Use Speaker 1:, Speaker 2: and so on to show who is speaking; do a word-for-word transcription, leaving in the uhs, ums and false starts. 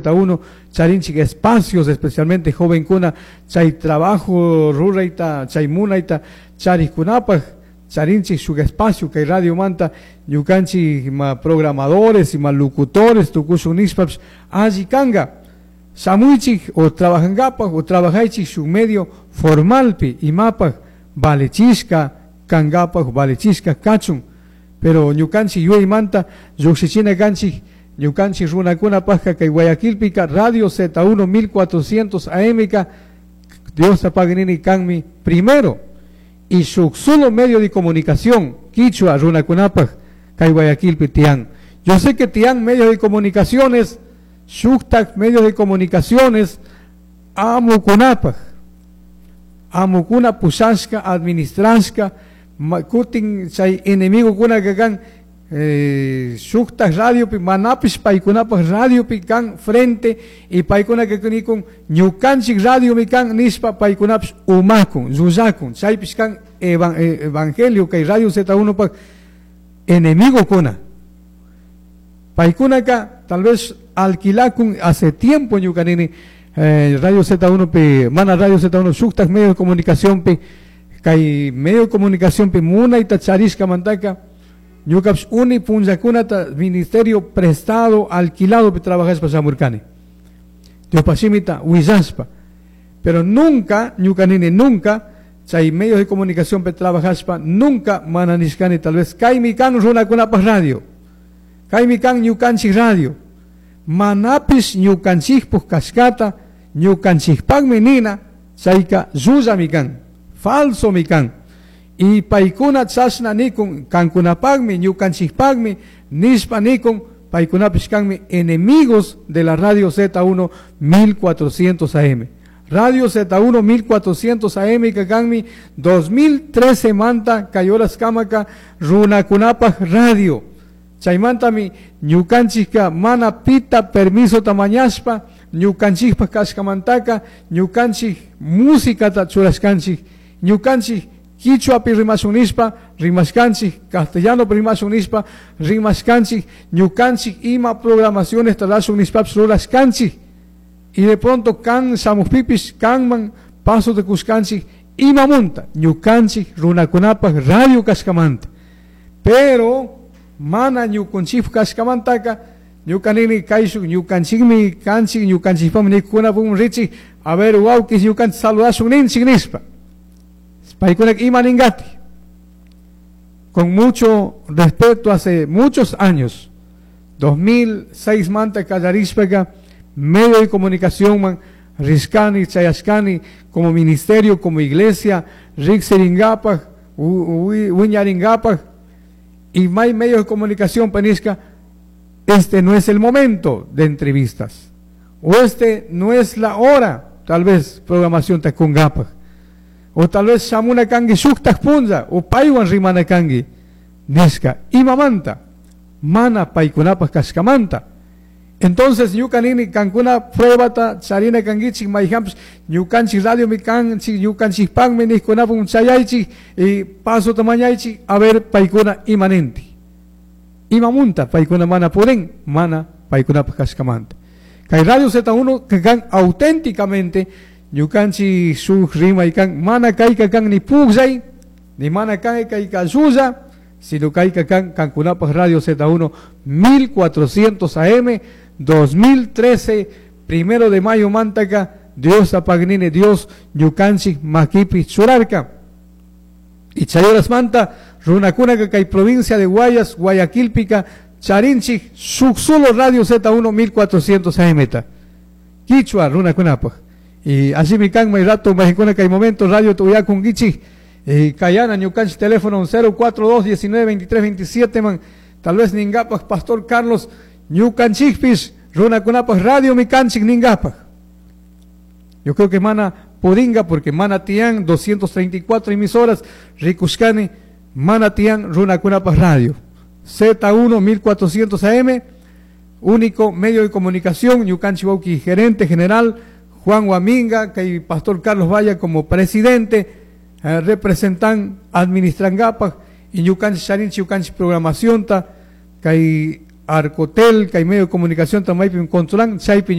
Speaker 1: Z uno charinchik espacios, especialmente jovenkuna chay trabajo rurayta, chay munayta charikkunapaj charinchik shuk espacio kay radio manta ñukanchik ima programadores, ima locutores tukushun nishpapish alli kanga. Shamuychik o trabajankapaj o trabajaychik shuk medio formalpi imapaj valechishka kankapaj, valechishka kachun. Pero ñukanchik yuyaymanta llukshichina kanchik ñukanchik runakunapajka kay Guayaquilpika Radio Z uno mil cuatrocientos A M ka Dios tapagnini kanmi primero y shuk solo medio de comunicación quichua runakunapaj kay Guayaquilpi tian. Yo sé que tian medios de comunicaciones, shuktak medios de comunicaciones amukunapaj, amukuna pushashka, administrashka, kutin chay enemigo kuna kan, eh, shuktak radiopi manapish paykunapaj radiopi kan frente y paykuna que nikun ñukanchik radio mi kan nishpa paykunapish umakun, llullakun, chaypish kan evan-, eh, evangelio kay Radio Z uno pa enemigo kuna. Paykunaka tal vez alquilakun hace tiempo ñukanini, eh, Radio Z uno pi, mana Radio Z uno shuktak medio de comunicación pi, kay medio de comunicación pi munayta charishka mantaka ñukapish uni punllakunata ministerio prestado, alquilado pi trabajashpa shamurkani. Diospa shimita willashpa. Pero nunca, ñukanini nunca, chay medios de comunicación pi trabajashpa, nunca mana nishkani tal vez kaymi kan runakunapaj radio, kaymi kan ñukanchik radio, manapish ñukanchikpuk kashkata, ñukanchikpakmi nina, chayka llullami kan, falso mi kan. Y paykuna chashna nikun, kankunapakmi, ñukanchikpakmi, nishpa nikun, paykunapish kanmi enemigos de la Radio Z uno mil cuatrocientos A M. Radio Z uno mil cuatrocientos A M que kanmi dos mil trece manta kayoras kamaka runakunapaj radio. Chaymantami ñukanchikka mana pita permiso tamañashpa, ñukanchikpa kashkamantaka, ñukanchik musicata churashkanchik, ñukanchik quichuapi rimashun nishpa, rimashkanchik, castellano rimashun nishpa, rimashkanchik, ñukanchik ima programaciones tarashun nishpapish rurashkanchik. Y de pronto kan shamukpipis, kanman paso de kushkanchik, ima munta, ñukanchik runakunapaj radio kashkamanta. Pero mana ñukunchik kashkamantaka, ñukanini kayshuk, ñukanchikmi kanchik, ñukanchikpami nikunapun richik, a ver, wawkis ñukanchik saludashun ninchik nishpa. Paykunak ima ningati. Con mucho respeto, hace muchos años, dos mil seis manta kallarishpaka, medio de comunicación man, Rishkani, Chayashkani, como ministerio, como iglesia, Rixiringapaj, Wiñaringapaj, y may medios de comunicación, panisca, este no es el momento de entrevistas, o este no es la hora, tal vez, programación tacungapaj, o tal vez shamuna kangi shuktak punza, o paywan rimana kangi, nisca, imamanta, mana paykunapaj kashkamanta. Entonces, ñukanini kankuna pruebata, charina kangichik, mayhamps, ñukanchik radio mi kanchik, ñukanchik panmi nijkunapun chayaychik, y paso tamañaychik, a ver paykuna imanenti. Imamunta, paykuna mana puren, mana paykunapaj kashkamanta. Kay Radio Z uno que kan auténticamente, ñukanchik shuk rimay kan, mana kayka kan ni pugllay, ni mana kay kayka llulla, sino kayka kan kankunapaj Radio Z uno mil cuatrocientos A M, dos mil trece, primero de mayo mantaka, Dios apagnine, Dios ñukanchik makipi churarka. Y chayoras manta, runakuna kay provincia de Guayas, Guayaquilpica, charinchik, shuk solo Radio Z uno mil cuatrocientos A M ta. Quichua, runakunapaj. Y así mi kan, may rato, may kuna kay momento, radio tuyakun gichik, y kayana ñukanchik teléfono cero cuatro dos, diecinueve, veintitrés, veintisiete, man, tal vez ningapaj, Pastor Carlos, ñukanchikpis, runakunapaj, radio mi kanchik ningapaj. Yo creo que mana pudinga, porque mana tian doscientos treinta y cuatro emisoras, rikushkani, mana tian runakunapaj radio. Z uno mil cuatrocientos A M, único medio de comunicación, ñukanchik wawki gerente general, Juan Guaminga, que Pastor Carlos Valla como presidente, eh, representan, administran gapaj, y ñukanchik charinchik, ñukanchik programación ta, kay Arcotel, kay medio de comunicación ta maypi controlan, chaypi